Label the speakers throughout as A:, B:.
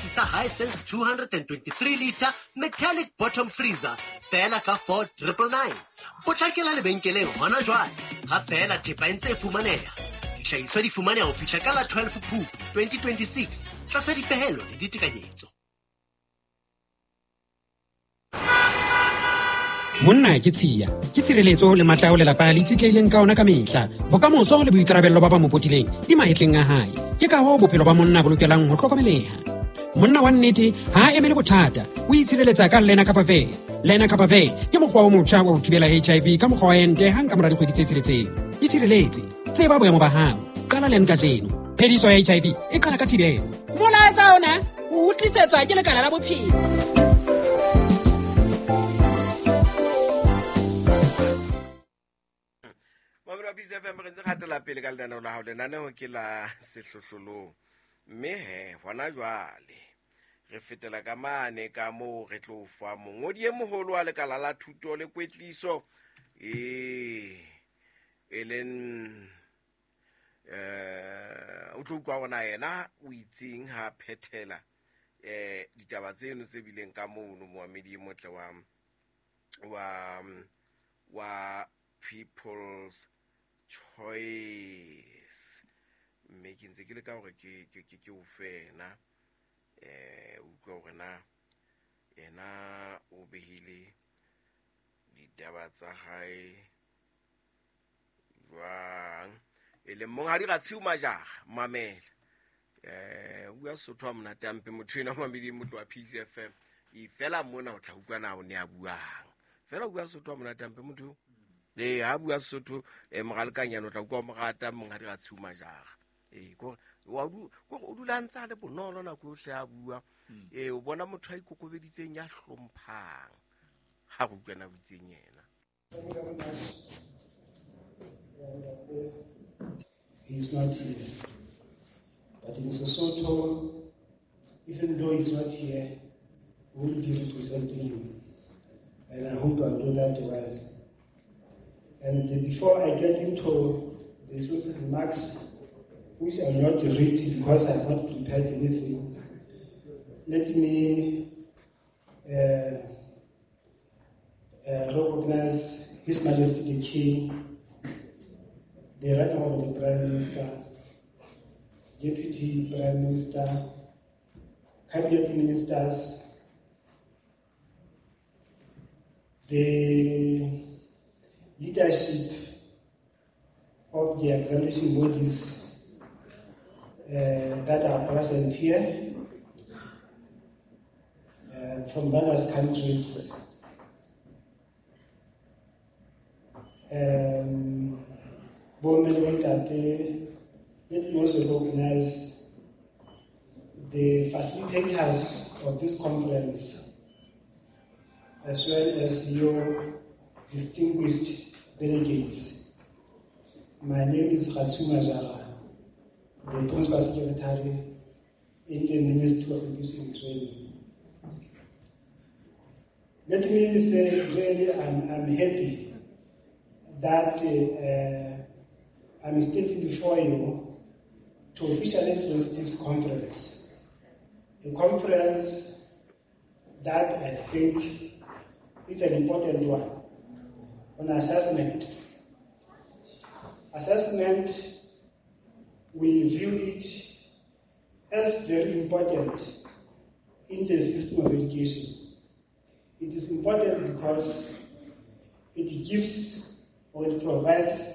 A: sa Hisense 223 litre metallic bottom freezer feela ka 4999. Potlakela lebenkeleng hona jwale ha feela thepa e ntse e fumaneha. Dihlahiswa di fumaneha ho fihla ka la 12 Phupu 2026 tlasa dipehelo le ditekanyetso.
B: Monna ke tshiya, ke tshireletso le matla ao lelapa le itshetlehileng ka ona ka mehla. Bokamoso le boikarabello ba ba mo potileng di mahetleng a hae. Ke kahoo bophelo ba monna bo lokelang ho hlokomeleha. Monna wa nnete ha a emele bothata, o itshireletsa ka Lena Kapa Ve. Lena Kapa Ve ke mokgwa o motjha wa ho thibela HIV ka mokgwa wa ente hang ka mora dikgwedi tse tsheletseng. Itshireletse, tseba boemo ba hao. Qala len kajeno. Phediso ya HIV e qala ka thibelo.
C: Molaetsa ona o tlisetswa ke lekala la bophelo.
D: Mamelo wa Peace FM, re ntse re hatela pele ka lenaneo la hao. Lenaneo ke la sehlohlolong, mme he hona jwale re fetela ka mane ka moo re tlo fa mongodi e moholo wa lekala la thuto le kwetliso e leng o tlo utlwa hore na yena o itseng ha phethela ditaba tseno tse bileng ka mono moamedi e motle wa People's Choice. Mme ke ntse ke leka hore ke o fe yena, utlwa hore na yena o behile ditaba tsa hae jwang. E leng monghadi Ratshiu Majara, mamela. O bua Sesotho ha monate hampe motho enwa mamedi motho wa Peace FM. E fela mona o tla utlwa na o ne a buang. Fela o bua Sesotho ha monate hampe motho. Ha bua Sesotho, moralekanyana o tla utlwa o mo rata monghadi Ratshiu Majara. Kore kore o dula a ntse a le bonolo nako yohle a bua. O bona motho a ikokobeditseng ya hlomphang. Ha re utlwa na o itseng yena.
E: Thank you very much. He's not here. But in Sesotho, even though he's not here, we will be representing him. And I hope I'll do that well. And before I get into the closing remarks, which I will not read because I have not prepared anything, let me recognize His Majesty the King, the Right Honorable the Prime Minister, Deputy Prime Minister, Cabinet Ministers, the leadership of the examination bodies that are present here from various countries. Bomme le bontate, let me also recognize the facilitators of this conference, as well as your distinguished delegates. My name is Ratshiu Majara, the Principal Secretary in the Ministry of Education and Training. Let me say, really, I'm happy that I'm standing before you to officially close this conference. A conference that I think is an important one on assessment. Assessment, we view it as very important in the system of education. It is important because it gives or it provides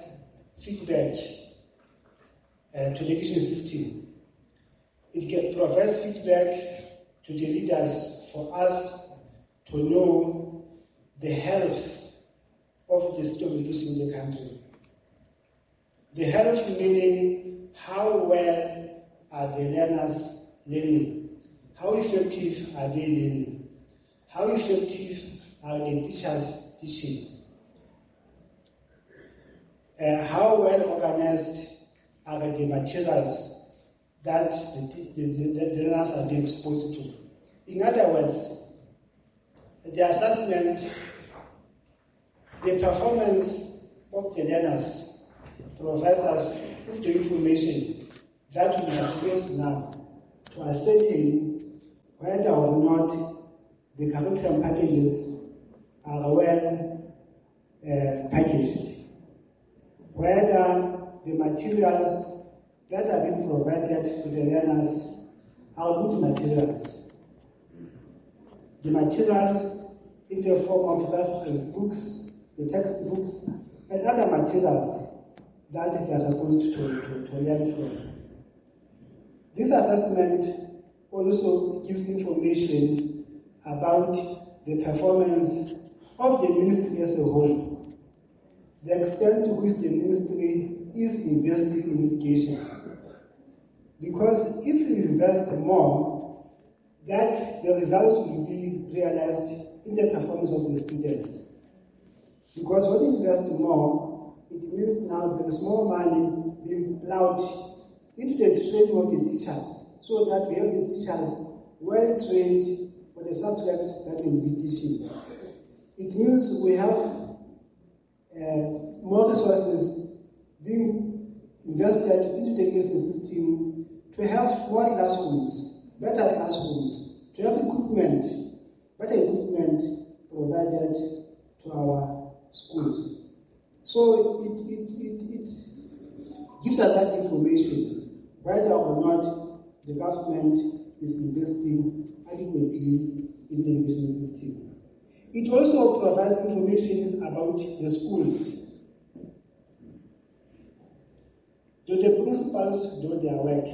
E: feedback to the education system. It provides feedback to the leaders for us to know the health of the system of education in the country. The health meaning how well are the learners learning? How effective are they learning? How effective are the teachers teaching? How well organized are the materials that the learners are being exposed to? In other words, the assessment, the performance of the learners provides us with the information that we must use now to ascertain whether or not the curriculum packages are well packaged, whether the materials that are being provided to the learners are good materials. The materials in the form of reference books, the textbooks, and other materials that they are supposed to learn from. This assessment also gives information about the performance of the ministry as a whole, the extent to which the ministry is investing in education. Because if you invest more, that the results will be realized in the performance of the students. Because when you invest more, it means now there is more money being plowed into the training of the teachers, so that we have the teachers well trained for the subjects that they will be teaching. It means we have more resources being invested into the education system to have more classrooms, better classrooms, to have equipment, better equipment provided to our schools. So it gives us that information, whether or not the government is investing adequately in the education system. It also provides information about the schools. Do the principals do their work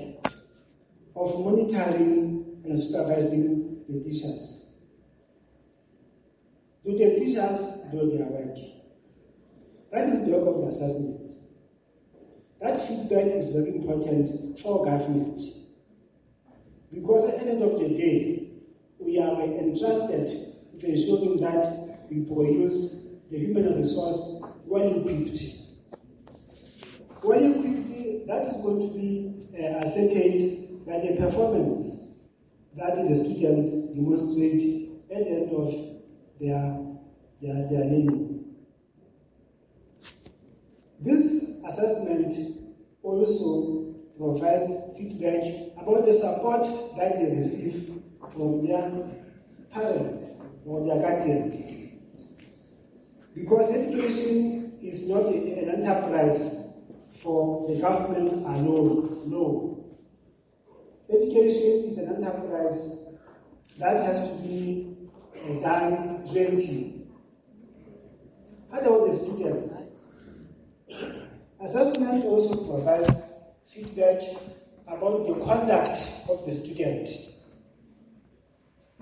E: of monitoring and supervising the teachers? Do the teachers do their work? That is the work of the assessment. That feedback is very important for government. Because at the end of the day, we are entrusted with ensuring that we produce the human resource well equipped. Well equipped, that is going to be ascertained by the performance that the students demonstrate at the end of their learning. This assessment also provides feedback about the support that they receive from their parents or their guardians. Because education is not an enterprise for the government alone, no. Education is an enterprise that has to be done jointly. What about the students? Assessment also provides feedback about the conduct of the student.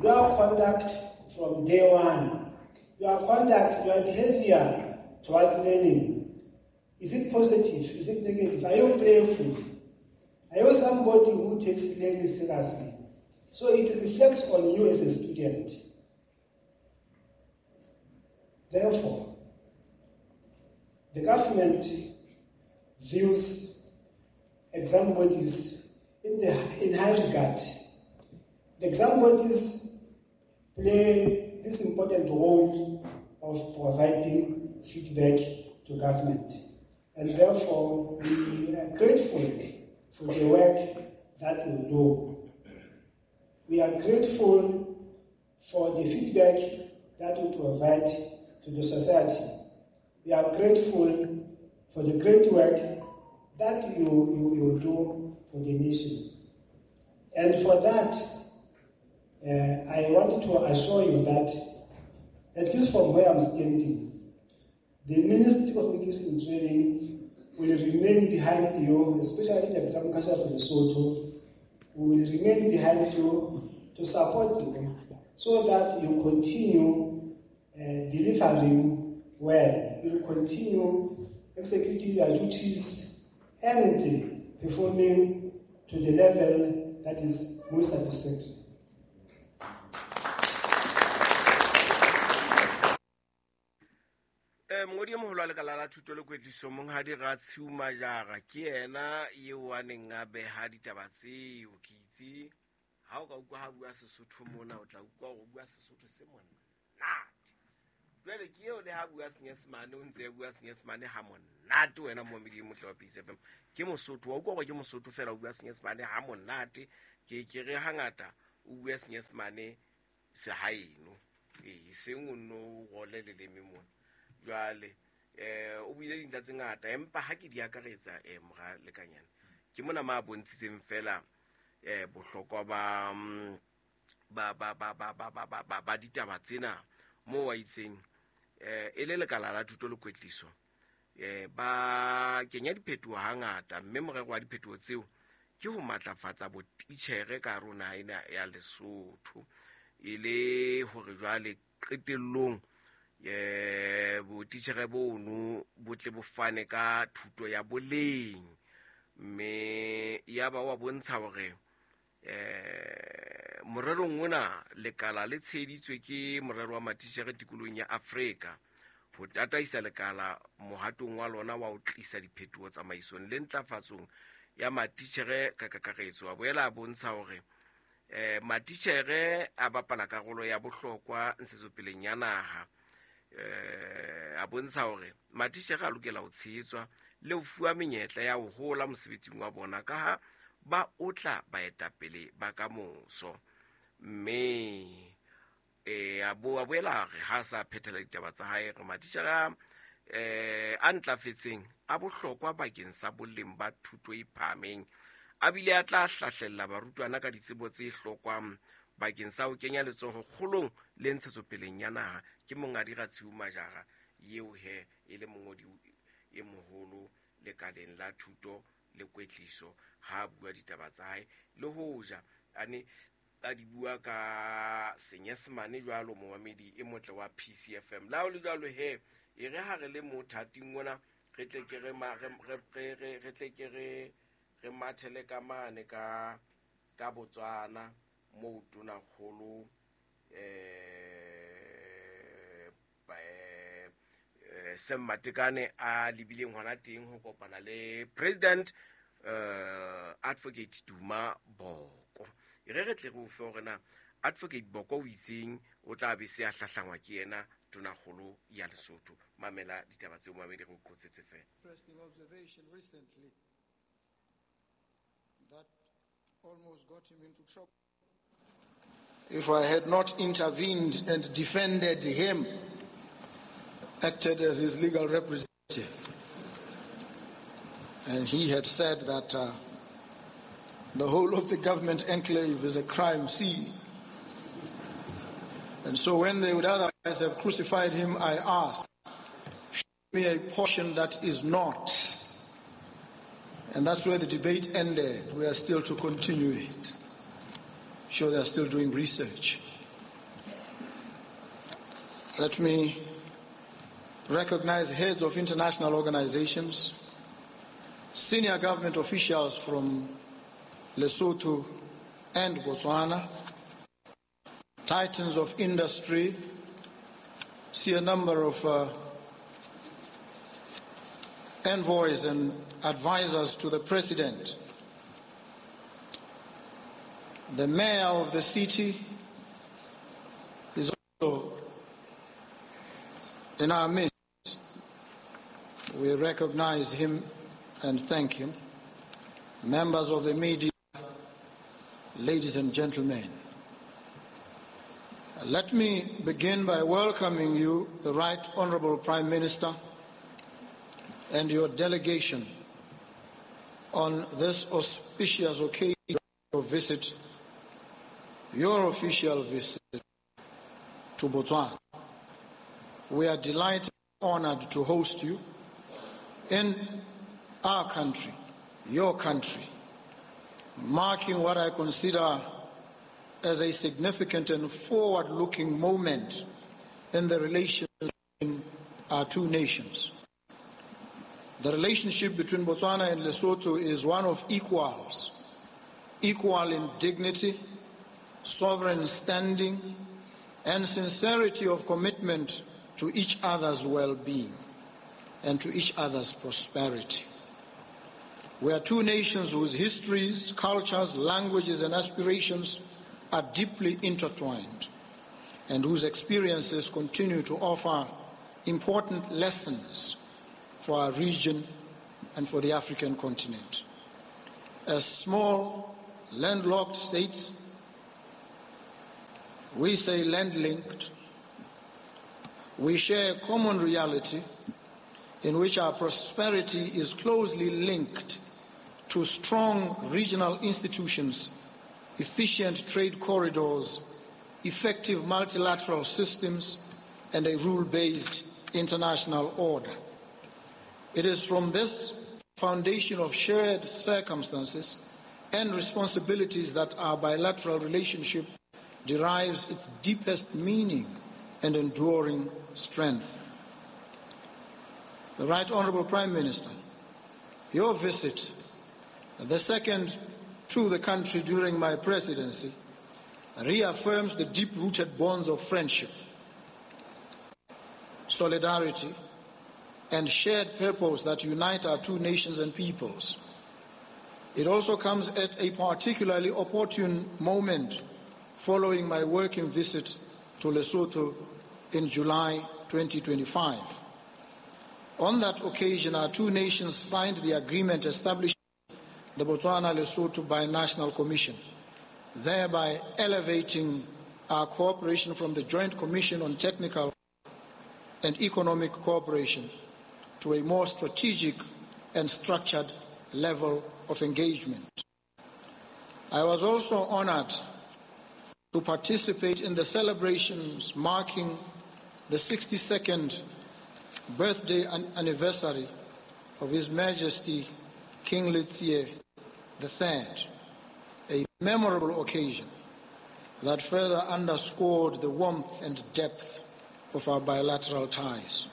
E: Your conduct from day one, your conduct, your behavior towards learning. Is it positive? Is it negative? Are you playful? Are you somebody who takes learning seriously? So it reflects on you as a student. Therefore, the government views exam bodies in high regard. The exam bodies play this important role of providing feedback to government. And therefore, we are grateful for the work that you do. We are grateful for the feedback that you provide to the society. We are grateful for the great work that you do for the nation. And for that, I want to assure you that, at least from where I'm standing, the Ministry of Education and Training will remain behind you, especially the Exam Council for Lesotho, will remain behind you to support you so that you continue delivering well. You will continue executing your duties and performing to the level that is most satisfactory.
D: Mongodi e moholo wa lekala la thuto le kwetliso monghadi Ratshiu Majara ke yena eo a neng a beha ditaba tseo. Ke itse ha o ka utlwa ha bua Sesotho mona, o tla utlwa hore o bua Sesotho se monate. Jwale ke eo le ha bua Senyesemane, o ntse a bua Senyesemane ha monate. Wena momedi motle wa Peace FM, ke Mosotho, wa utlwa hore ke Mosotho fela o bua Senyesemane ha monate. Ke re hangata O bua Senyesemane sehaeno, e seng o nno role leleme mona. Jwale o buile dintlha tse ngata, empa ha ke di akaretsa mora Lekanyane, ke mona ma bontshitseng fela bohlokwa ba ditaba tsena moo wa itseng e le lekala la thuto le kwetliso ba kenya diphetoho hangata, mme morero wa diphetoho tseo ke ho matlafatsa botitjhere ka rona ena ya Lesotho, e le hore jwale qetellong botitjhere bono bo tle bo fane ka thuto ya boleng. Mme ya ba wa bontsha hore morerong ona lekala le tsheheditswe ke morero wa matitjhere tikolohong ya Afrika ho tataisa lekala mohatong wa lona wa ho tlisa diphetoho tsamaisong le ntlafatsong ya matitjhere ka kakaretso. A boela a bontsha hore matitjhere a bapala karolo ya bohlokwa ntshetsopeleng ya naha. A bontsha hore matitjhere a lokela ho tshehetswa le ho fuwa menyetla ya ho hola mosebetsing wa bona, ka ha ba otla baetapele ba kamoso. Mme a boela re ha sa phethela ditaba tsa hae, re matitjhere a ntlafetseng a bohlokwa bakeng sa boleng ba thuto e phahameng, a bile a tla hlahlella barutwana ka ditsebo tse hlokwang bakeng sa ho kenya letsoho kgolong le ntshetsopeleng ya naha. Ke Monghadi Ratshiu Majara eo he e le mongodi e moholo lekaleng la thuto le kwetliso ha bua ditaba tsa hae, le hoja a ne a di bua ka Senyesemane jwalo momamedi e motle wa PCFM. La ho le jwalo he, e re ha re le mothating ona re tle ke re re tle ke re mathele ka mane ka Botswana moo tonakgolo Sam Matekane a lebileng hona teng ho kopana le President Advocate Duma Boko. E re tle re o fe hore na Advocate Boko o itseng o tla be se a hlahlangwa ke yena tonakgolo ya Lesotho. Mamela ditaba tseo mamedi re o qotsetse fela.
F: Interesting observation recently that almost got him into trouble. If I had not intervened and defended him, acted as his legal representative. And he had said that the whole of the government enclave is a crime scene. And so when they would otherwise have crucified him, I asked, show me a portion that is not. And that's where the debate ended. We are still to continue it. Sure, they are still doing research. Let me recognize heads of international organizations, senior government officials from Lesotho and Botswana, titans of industry, see a number of envoys and advisors to the president. The mayor of the city is also in our midst. We recognize him and thank him. Members of the media, ladies and gentlemen, let me begin by welcoming you, the Right Honorable Prime Minister, and your delegation on this auspicious occasion of visit, your official visit to Botswana. We are delighted and honored to host you in our country, your country, marking what I consider as a significant and forward-looking moment in the relations between our two nations. The relationship between Botswana and Lesotho is one of equals, equal in dignity, sovereign standing, and sincerity of commitment to each other's well-being and to each other's prosperity. We are two nations whose histories, cultures, languages, and aspirations are deeply intertwined and whose experiences continue to offer important lessons for our region and for the African continent. As small, landlocked states, We say land-linked. We share a common reality in which our prosperity is closely linked to strong regional institutions, efficient trade corridors, effective multilateral systems, and a rule-based international order. It is from this foundation of shared circumstances and responsibilities that our bilateral relationship derives its deepest meaning and enduring strength. The Right Honourable Prime Minister, your visit, the second to the country during my presidency, reaffirms the deep-rooted bonds of friendship, solidarity, and shared purpose that unite our two nations and peoples. It also comes at a particularly opportune moment following my working visit to Lesotho in July 2025. On that occasion, our two nations signed the agreement establishing the Botswana-Lesotho Binational Commission, thereby elevating our cooperation from the Joint Commission on Technical and Economic Cooperation to a more strategic and structured level of engagement. I was also honored to participate in the celebrations marking the 62nd birthday anniversary of His Majesty King Letsie III, a memorable occasion that further underscored the warmth and depth of our bilateral ties.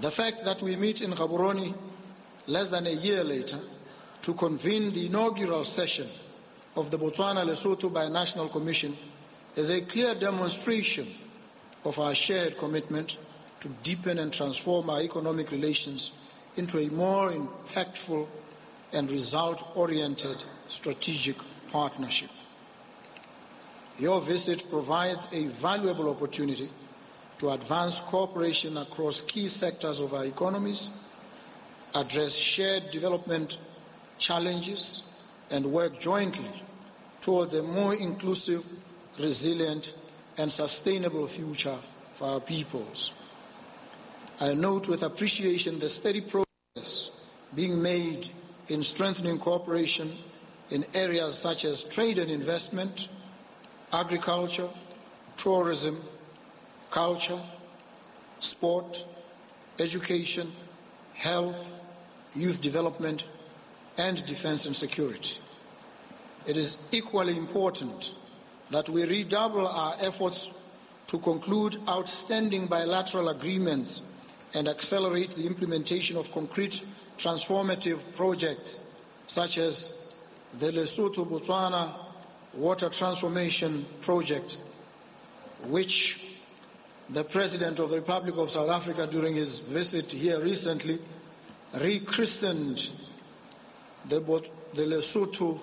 F: The fact that we meet in Gaborone less than a year later to convene the inaugural session of the Botswana-Lesotho Binational Commission is a clear demonstration of our shared commitment to deepen and transform our economic relations into a more impactful and result-oriented strategic partnership. Your visit provides a valuable opportunity to advance cooperation across key sectors of our economies, address shared development challenges, and work jointly towards a more inclusive, resilient, and sustainable future for our peoples. I note with appreciation the steady progress being made in strengthening cooperation in areas such as trade and investment, agriculture, tourism, culture, sport, education, health, youth development, and defense and security. It is equally important that we redouble our efforts to conclude outstanding bilateral agreements and accelerate the implementation of concrete transformative projects such as the Lesotho-Botswana Water Transformation Project, which the President of the Republic of South Africa during his visit here recently rechristened the Lesotho,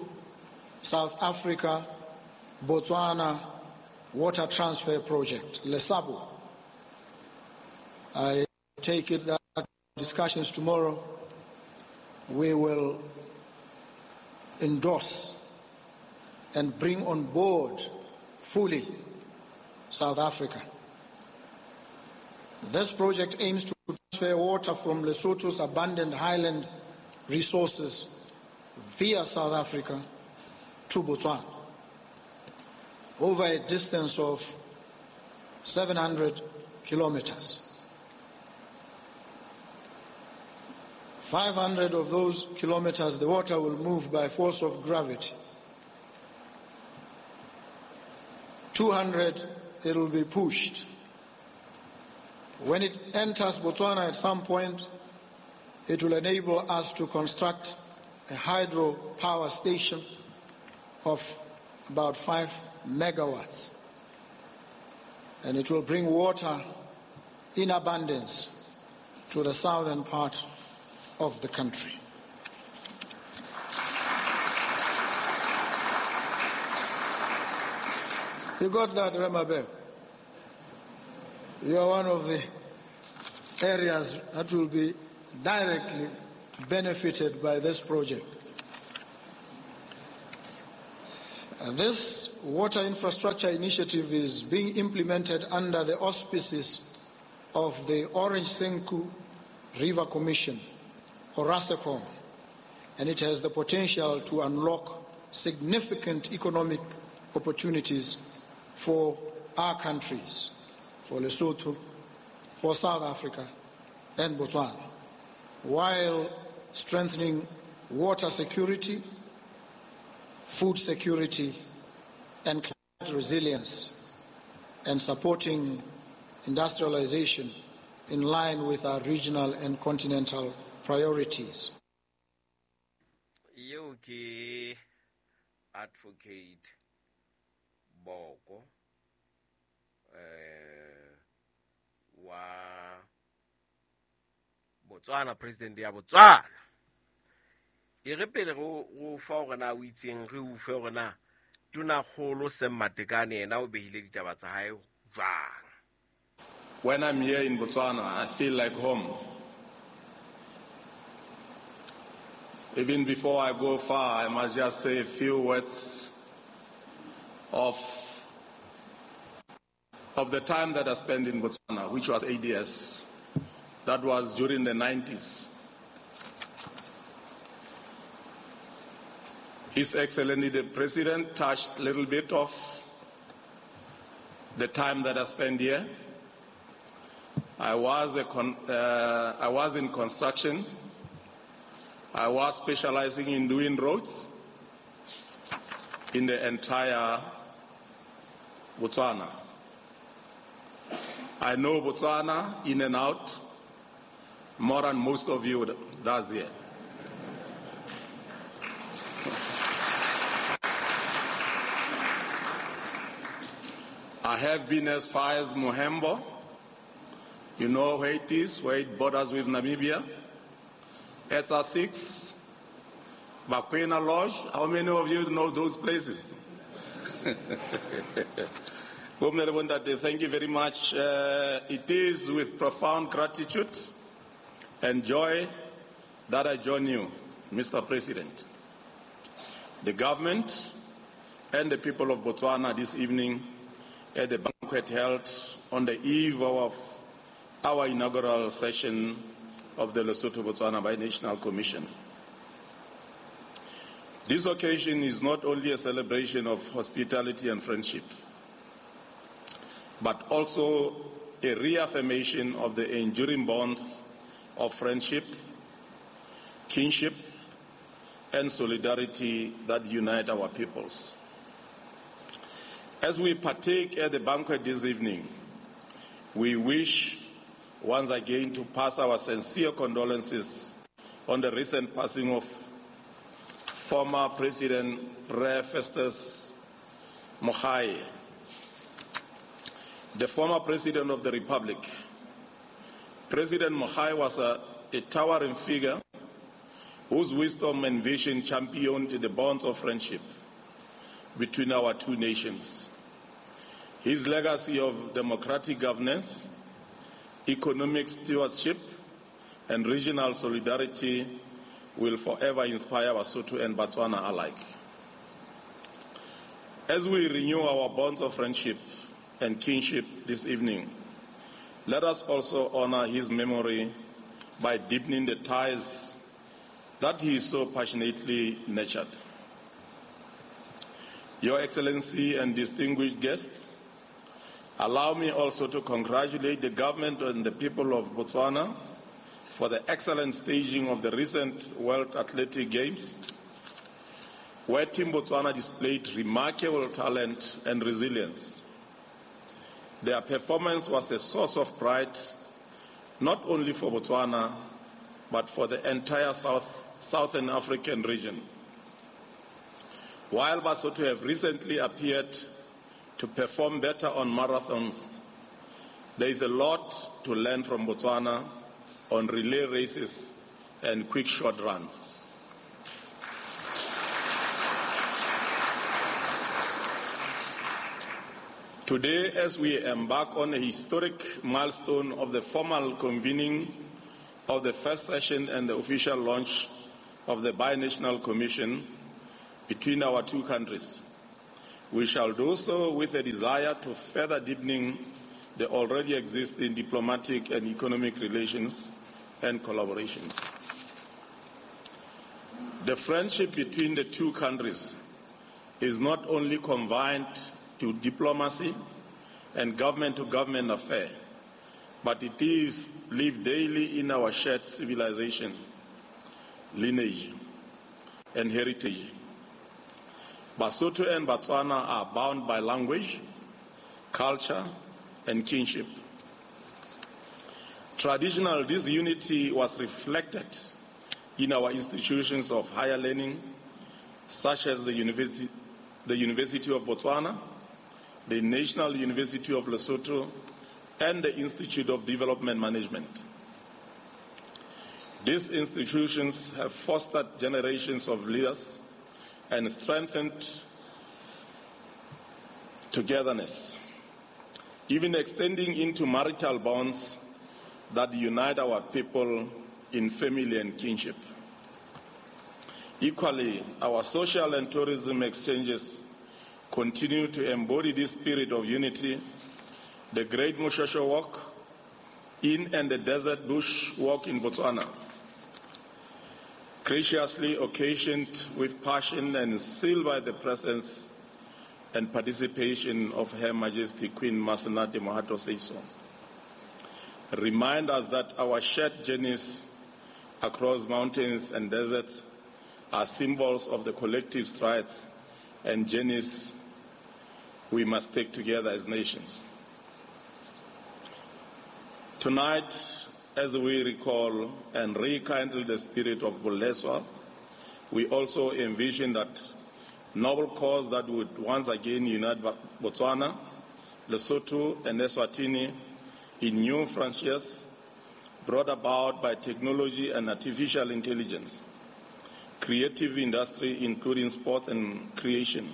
F: South Africa, Botswana Water Transfer Project, LESABO. I take it that discussions tomorrow we will endorse and bring on board fully South Africa. This project aims to transfer water from Lesotho's abundant highland resources via South Africa to Botswana over a distance of 700 kilometers. 500 of those kilometers, the water will move by force of gravity. 200, it will be pushed. When it enters Botswana at some point, it will enable us to construct a hydro power station of about 5 megawatts. And it will bring water in abundance to the southern part of the country. You got that, Remabel? You are one of the areas that will be directly benefited by this project. This water infrastructure initiative is being implemented under the auspices of the Orange Senqu River Commission, ORASECOM, and it has the potential to unlock significant economic opportunities for our countries, for Lesotho, for South Africa, and Botswana, while strengthening water security, food security, and climate resilience, and supporting industrialization in line with our regional and continental priorities.
D: Eo ke Advocate Boko wa Botswana, president ya Botswana. E re pele go fa hore na o itseng, re o fe hore na Tonakgolo Sam Matekane yena o behile ditaba tsa hae jwang.
G: When I'm here in Botswana, I feel like home. Even before I go far, I must just say a few words of the time that I spent in Botswana, which was 8 years. That was during the 90s. His Excellency the President touched a little bit of the time that I spent here. I was in construction. I was specializing in doing roads in the entire Botswana. I know Botswana in and out more than most of you does here. I have been as far as Mohembo. You know where it is, where it borders with Namibia. Etsa 6, Bakwena Lodge. How many of you know those places? Thank you very much. It is with profound gratitude and joy that I join you, Mr. President, the government, and the people of Botswana this evening at the banquet held on the eve of our inaugural session of the Lesotho-Botswana Binational Commission. This occasion is not only a celebration of hospitality and friendship, but also a reaffirmation of the enduring bonds of friendship, kinship, and solidarity that unite our peoples. As we partake at the banquet this evening, we wish once again to pass our sincere condolences on the recent passing of former President Re Festus Mogae, the former President of the Republic. President Mogae was a towering figure whose wisdom and vision championed the bonds of friendship between our two nations. His legacy of democratic governance, economic stewardship, and regional solidarity will forever inspire Basotho and Botswana alike. As we renew our bonds of friendship and kinship this evening, let us also honor his memory by deepening the ties that he so passionately nurtured. Your Excellency and distinguished guests, allow me also to congratulate the government and the people of Botswana for the excellent staging of the recent World Athletic Games, where Team Botswana displayed remarkable talent and resilience. Their performance was a source of pride, not only for Botswana, but for the entire Southern African region. While Basotho have recently appeared to perform better on marathons, there is a lot to learn from Botswana on relay races and quick short runs. Today, as we embark on a historic milestone of the formal convening of the first session and the official launch of the Binational Commission between our two countries, We shall do so with a desire to further deepening the already existing diplomatic and economic relations and collaborations. The friendship between the two countries is not only confined to diplomacy and government-to-government affair, but it is lived daily in our shared civilization, lineage, and heritage. Basotho and Botswana are bound by language, culture, and kinship. Traditionally, this unity was reflected in our institutions of higher learning, such as the University of Botswana, the National University of Lesotho, and the Institute of Development Management. These institutions have fostered generations of leaders and strengthened togetherness, even extending into marital bonds that unite our people in family and kinship. Equally, our social and tourism exchanges continue to embody this spirit of unity. The Great Moshosho Walk in and the Desert Bush Walk in Botswana, graciously occasioned with passion and sealed by the presence and participation of Her Majesty Queen Masenate Mohato Seeiso, remind us that our shared journeys across mountains and deserts are symbols of the collective strides and journeys we must take together as nations. Tonight, as we recall and rekindle the spirit of Buleswa, we also envision that noble cause that would once again unite Botswana, Lesotho, and Eswatini in new frontiers brought about by technology and artificial intelligence, creative industry including sports and creation.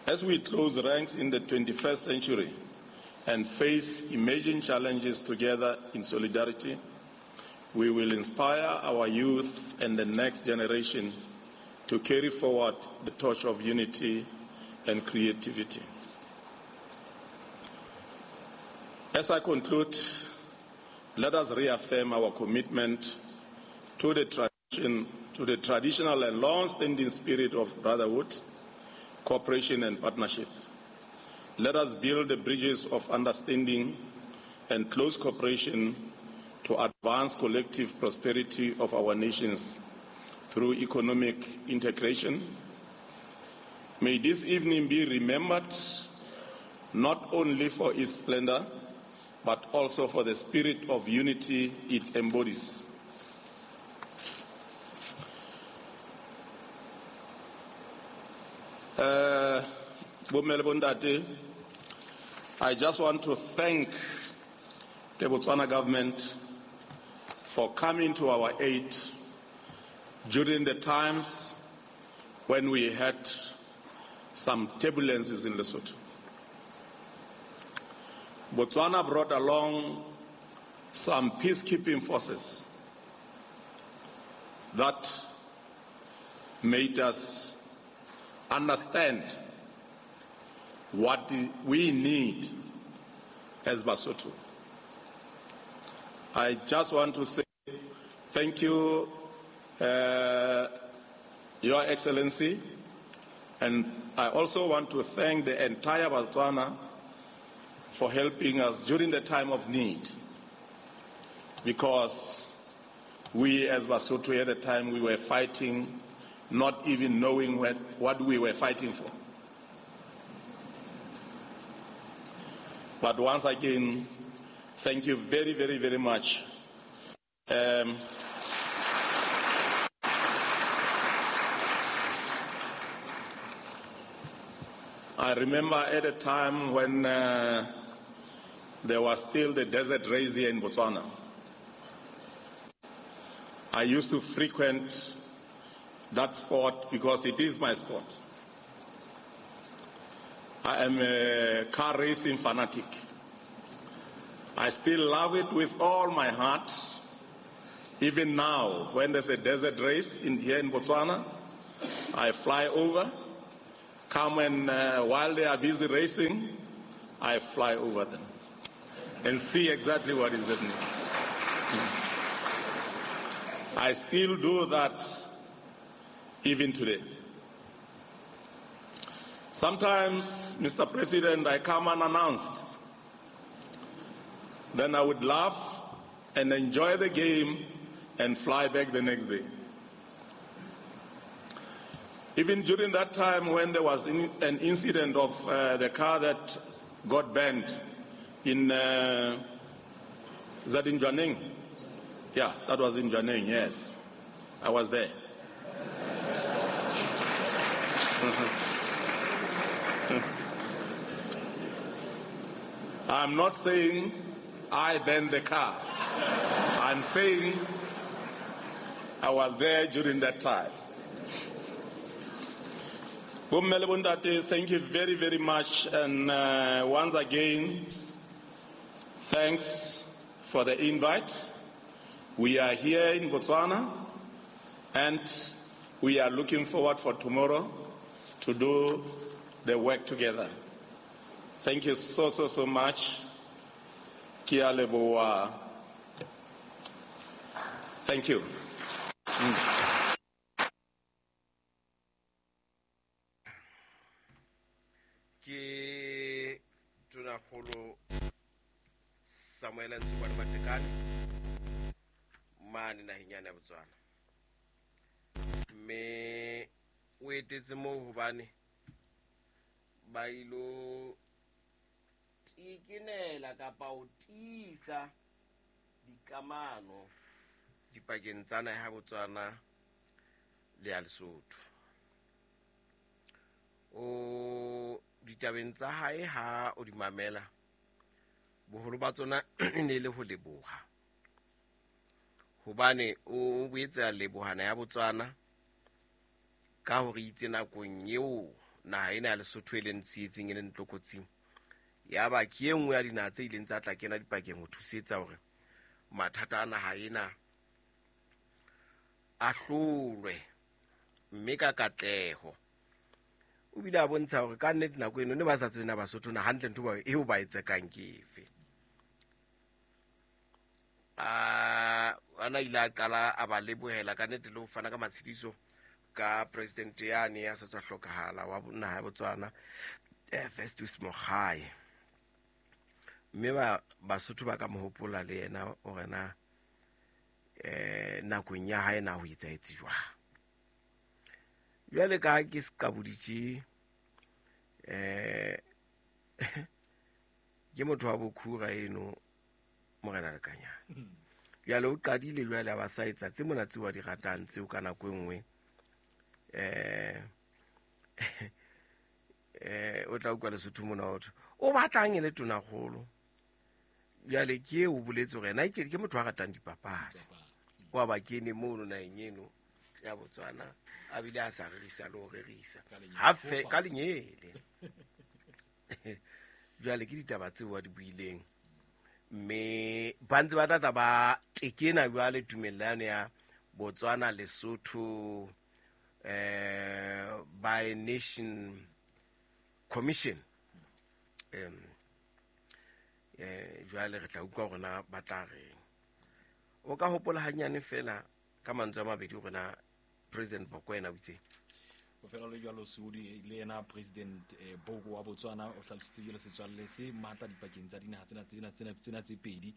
G: As we close ranks in the 21st century and face emerging challenges together in solidarity, we will inspire our youth and the next generation to carry forward the torch of unity and creativity. As I conclude, let us reaffirm our commitment to the traditional and long-standing spirit of brotherhood, cooperation, and partnership. Let us build the bridges of understanding and close cooperation to advance collective prosperity of our nations through economic integration. May this evening be remembered not only for its splendor, but also for the spirit of unity it embodies. I just want to thank the Botswana government for coming to our aid during the times when we had some turbulences in Lesotho. Botswana brought along some peacekeeping forces that made us understand what we need as Basotho. I just want to say thank you, Your Excellency, and I also want to thank the entire Botswana for helping us during the time of need, because we as Basotho at the time we were fighting, not even knowing what we were fighting for. But once again, thank you very, very, very much. I remember at a time when there was still the desert race here in Botswana. I used to frequent that sport because it is my sport. I am a car racing fanatic. I still love it with all my heart. Even now, when there's a desert race here in Botswana, I fly over come and while they are busy racing, I fly over them and see exactly what is happening. I still do that even today. Sometimes, Mr. President, I come unannounced. Then I would laugh and enjoy the game and fly back the next day. Even during that time when there was an incident of the car that got banned in, is that in Jwaneng? Yeah, that was in Jwaneng, yes. I was there. I'm not saying I banned the cars. I'm saying I was there during that time. Bomme le bontate, thank you very, very much. And once again, thanks for the invite. We are here in Botswana, and we are looking forward for tomorrow to do the work together. Thank you so, so, so much. Kia leboa. Thank you.
D: Ke Tonakgolo Samuel Ntshobane Matekane mane naheng yane ya Botswana, mme o etetse moo hobane ba ilo tikenela kapa ho tiisa dikamano dipakeng tsa naha ya Botswana le ya Lesotho. O ditabeng tsa hae ha o di mamela, boholo ba tsona e ne le ho leboha, hobane o boetse a leboha naha ya Botswana ka hore itse nakong eo naha ena ya Lesotho e leng tsietsing e leng tlokotsing, ya ba ke e nngwe ya dinaha tse ileng tsa tla kena dipakeng ho thusetsa hore mathata a naha ena a hlolwe mme ka katleho. O bile a bontsha hore ka nnete nako eno ne ba sa tsebe na Basotho na hantle ntho eo ba e tsekang ke efe. Ana ile a qala a ba lebohela ka nnete le ho fana ka matshediso ka president yane ya sa tswa hlokahala wa naha ya Botswana, Festus Mogae. Mme ba Basotho ba ka mo hopola le yena hore na nakong ya hae na ho etsahetse jwang. Jwale ka ha ke se kaboditse, ke motho wa bokhura eno Morena Lekanyane. Jwale o qadile jwale a ba sa etsa tse mona tseo a di ratang tseo ka nako e nngwe, o tla utlwa Lesotho mona ho thwe o batlang e le tonakgolo. Jwale ke eo o boletse hore yena ke motho a ratang dipapadi, wa ba kene mono naheng eno ya Botswana a bile a sa rerisa le ho rerisa hafe ka lenyele. Jwale ke ditaba tseo a di buileng, mme ba ntse ba tla ba tekena jwale tumellano ya Botswana Lesotho by Nation Commission. Jwale re tla utlwa hore na ba tla reng. O ka hopola hanyane fela ka mantswe a mabedi hore na President Boko yena o itse.
H: Ho fela le jwalo Sudi le yena President Boko wa Botswana o hlalositse jwalo setswalle se matla dipakeng tsa dinaha tsena tse pedi,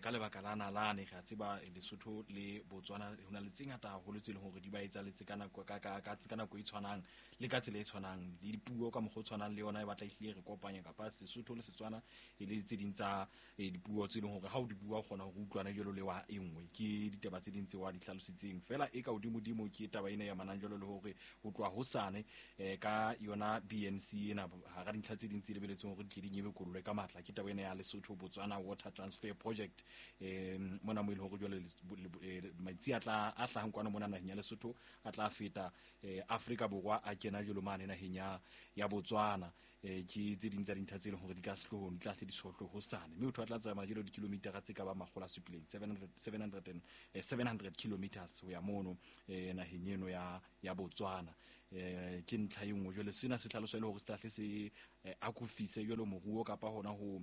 H: ka lebaka la nalane. Re a tseba Lesotho le Botswana ho na le tse ngata haholo tse leng hore di ba etsahalletse ka nako ka nako e tshwanang le ka tsela e tshwanang, le dipuo ka mokgwa o tshwanang le yona e batla ehlile re kopanya, kapa Sesotho le Setswana e le tse ding tsa dipuo tse leng hore ha o di bua o kgona hore utlwana jwalo le wa e nngwe. Ke ditaba tse ding tse wa di hlalositseng fela e ka hodimodimo ke taba ena ya manang jwalo le hore ho tloha hosane ka yona BNC ena hara dintlha tse ding tse lebeletseng hore di tle di nyebekollwe ka matla ke taba ena ya Lesotho Botswana Water Transfer Project. Mona mo e leng hore jwale metsi a tla a hlahang kwana mona naheng ya Lesotho a tla feta Afrika Borwa a kena jwalo mane naheng ya Botswana. Ke tse ding tsa dintlha tse leng hore di ka sehloohong di tla hle di sohlwe hosane, mme motho a tla tsamaya jwalo dikilomitara tse ka ba 700 700 kilometers ho ya mono naheng eno ya Botswana. Ke ntlha e nngwe. Jwale sena se hlalosa e le hore se tlahle se akofise jwalo moruo kapa hona ho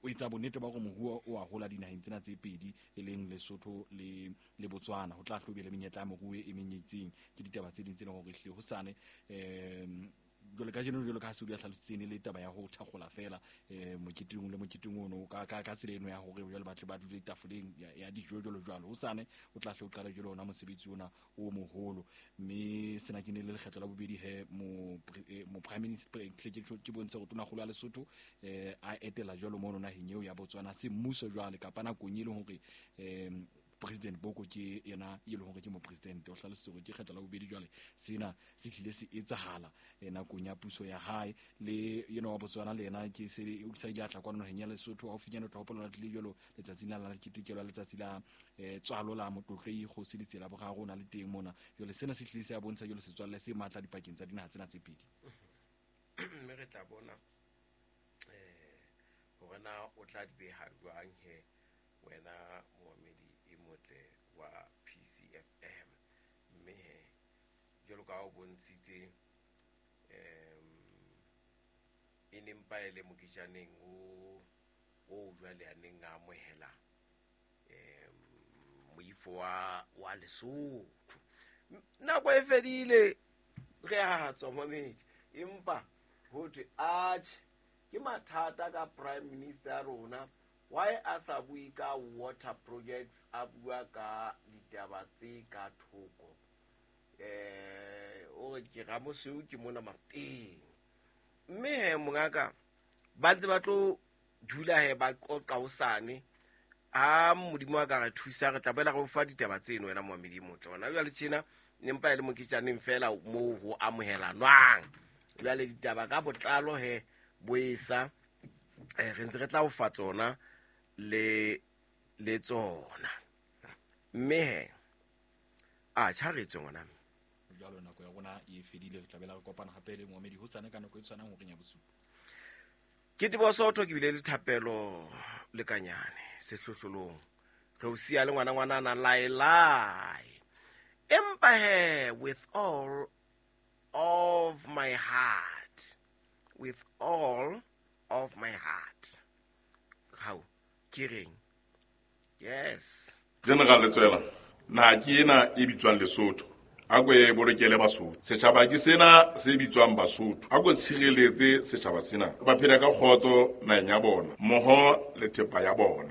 H: o etsa bonnete ba hore moruo o a hola dinaheng tsena tse pedi, e leng Lesotho le Botswana. Ho tla hlobe le menyetla ya moruo e meng e itseng. Ke ditaba tse ding tse leng hore ehlile hosane jwale ka jeno, jwalo ka ha Seodi a hlalositse, ne le taba ya ho thakgola fela moketeng le moketeng ono ka tsela eno ya hore jwale ba tle ba dule tafoleng ya dijo jwalo jwalo. Hosane o tla hle o qala jwalo ona mosebetsi ona o moholo, mme sena ke ne le lekgetlo la bobedi he mo prime minister ke bontshe hore tonakgolo ya Lesotho a etela jwalo mono naheng eo ya Botswana se mmuso jwale kapa nakong e leng hore President Boko ke yena e leng hore ke mopresidente. O hlalositse hore ke kgetlo la bobedi jwale sena se tlile se etsahala nakong ya puso ya hae. Le yena wa Botswana le yena ke se o sa ile a tla kwano naheng ya Lesotho haufinyane, o tla hopola tlile jwalo letsatsing la ketekelo ya letsatsi la tswalo la Motlotlei Kgosi Letsela Boraro, o na le teng mona. Jwale sena se tlile se a bontsha jwalo setswalle se matla dipakeng tsa dinaha tsena tse pedi.
D: Mme re tla bona hore na o tla di beha jwang he wena moamedi e motle wa PCFM. Mme he jwalo ka ha o bontshitse e ne mpa e le moketjaneng o jwale a neng a amohela moifo wa Lesotho. Nako e fedile, re a tswa momedi, empa ho thwe atjhe ke mathata ka prime minister ya rona. Why a sa bue ka water projects, a bua ka ditaba tse ka thoko? O re ke Ramosweu ke mona Mafeteng. Mme he mongaka ba ntse ba tlo dula he ba qoqa hosane. Ha Modimo a ka re thusa, re tla boela re o fa ditaba tseno wena moamedi e motle. Hona jwale tjena ne mpa e le moketjaneng fela moo ho amohelanwang. Jwale ditaba ka botlalo he boesa re ntse re tla o fa tsona le tsona. Mme he a tjha re tswe ngwana.
H: Jwalo nako ya rona e fedile, re tla bela re kopana hape le moamedi hosane ka nako e tshwanang horeng ya bosupa.
D: Ke Teboho Soto, ke bile le thapelo le kanyane sehlohlolong. Re o siya le ngwana ngwanana lae lae. Empa he with all of my heart, with all of my heart. How? Ke reng? Yes.
G: General Letsoela, naha ke ena e bitswang Lesotho. A ko e bolokele Basotho. Setjhaba ke sena se bitswang Basotho. A ko tshireletse setjhaba sena. Ba phela ka kgotso naheng ya bona, mmoho le thepa ya bona.